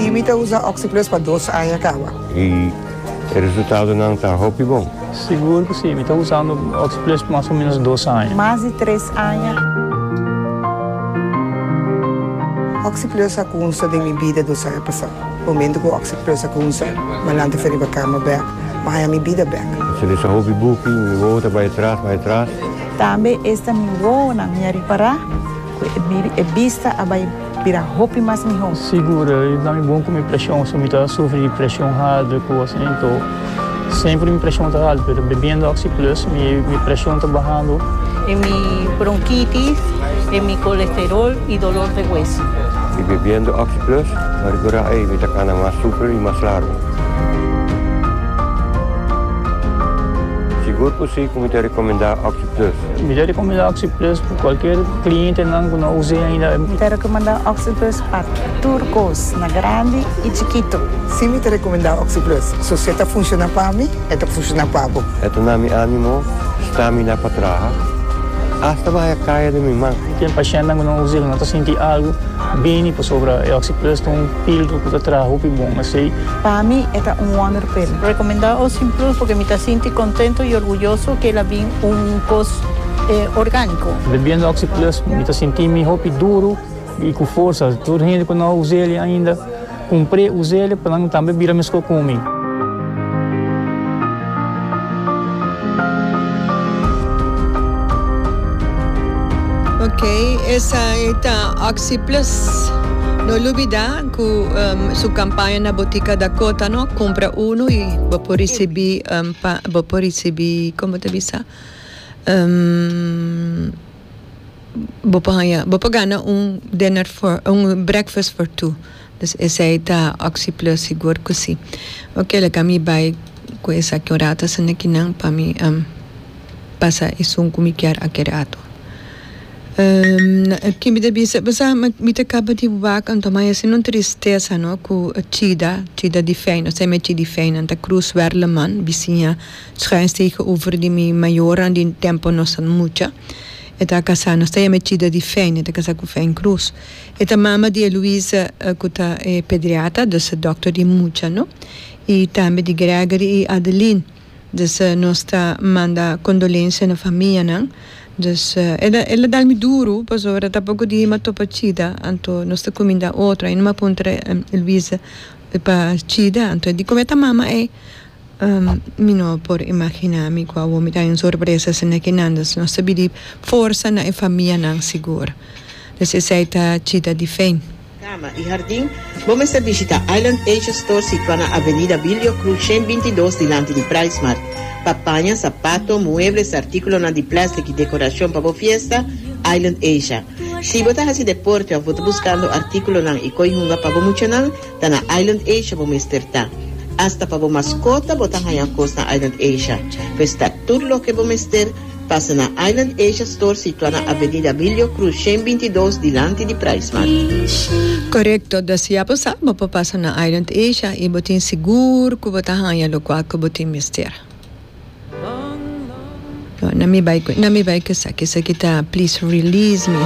Si mi ta usa OxiPlus pa dos aña caba. Y e resultadonan ta hopi bon. Sigur cu si, mi ta usando OxiPlus mas o menos dos aña. Mas di tres aña. OxiPlus a cunsa den mi bida dos aña pasa. Momento cu OxiPlus a cunsa, mi a lanta for riba cama bek, mi a haya mi bida bek. Mi ta lesa hopi buki, mi wowo ta bay atras, bay atras. Tambe esta mi wowonan mi a ripara cu e bista a bay bira hopi mas miho. Sigur, e da mi bon cu mi presion, so mi ta sufri di presion halto y cos anto semper mi presion ta halto, pero bebiendo Oxi Plus mi mi presion ta bahando. En mi bronquitis, en mi colesterol y dolor de hueso. Y bebiendo Oxi Plus, mi a recora ey mi ta cana mas super y mas largo. Sigur cu si cu mi ta recomenda Oxi Plus. Mi ta recomenda Oxi Plus pa cualkier clientenan cu no a us'e ainda. Mi ta recomenda Oxi Plus pa tur cos, na grandi y chikito. Si mi ta recomenda Oxi Plus. So si e ta funciona pa mi, e ta funciona pa bo. E ta na mi animo, stamina pa traha, hasta baha caya den mi man. Tin pashentnan cu no us'e, cu no ta sinti algo bini pasobra e Oxi Plus ta un filtro cu ta traha hopi bon. Esey. Pa mi e ta un wonderpil. Recomenda Oxi Plus porque mi ta sinti contento y orguyoso cu el a bin un cos organico. Bebiendo Oxi Plus mi ta sinti mi hopi duro y cu forsa. Tur hende cu no a us'el ainda cumpr'e us'el pa nan tambe bira mesco cu mi. Ok, esai ta Oxi Plus. No lubida cu su campaña na Botica Dakota no, cumpra uno y bo por ricibi pa bo por ricibi como ta bisa bo por haña bo por gana un dinner for un breakfast for two. Dus esei ta Oxi Plus sigur cu si. Ok laga mi bay cu esaki un rato asina kinan pa mi pasa esun cu mi kier aki rato. Ki mi ta bisa bo sa mi ta caba di wak anto ma asina un tristesa no cu Chida, Chida di Fijn nos ta yama Chidi Fijn nan ta Cruz Werleman bisiña schuins tegenover di mi mayornan di tempo nos ta mucha e ta casa nos ta yama Chida di Fijn e ta casa cu Fijn Cruz. E ta mama di Eloise cu ta e pediatra, dus e dokter di mucha no, y tambe di Gregory y Adeline. Dus nos ta manda condolencia na famianan. Dus el a el a dal mi duro pasobra tapoco di hima topa Chida, anto nos ta cuminda otro. Ainda mi a puntra Eloise pa Chida, anto e di como e ta mama ey. Mi no por imagina mi cu awor mi ta un sorpresa asina ki nan. Dus nos ta bidi forsa na e famianan sigur. Dus esey ta chita di fein. Cama y hardin, bo mester bishita Island Asia Store situa na Avenida Bilio Cruz 122 dilanti di PriceMart. Pa paña, sapato, muebles, articulonan di plastic y decoracion pa bo fiesta, Island Asia. Si bo ta haci deporte of bo ta buscando articulonan y coy hunga pa bo muchanan, Ta na Island Asia bo mester ta. Hasta pa bo maskota bo ta haña kos na Island Asia. Pues ta tur loke bo mester, pasa na Island Asia Store situa na Avenida Abilio Cruz 122 dilanti di PriceMart. Korekto, dus ya bo sa bo por pasa na Island Asia i bo tin sigur ku bo ta haña lokual ku bo tin mester. Na mi bai ku na mi bai ku esaki, esaki ta Please Release Me.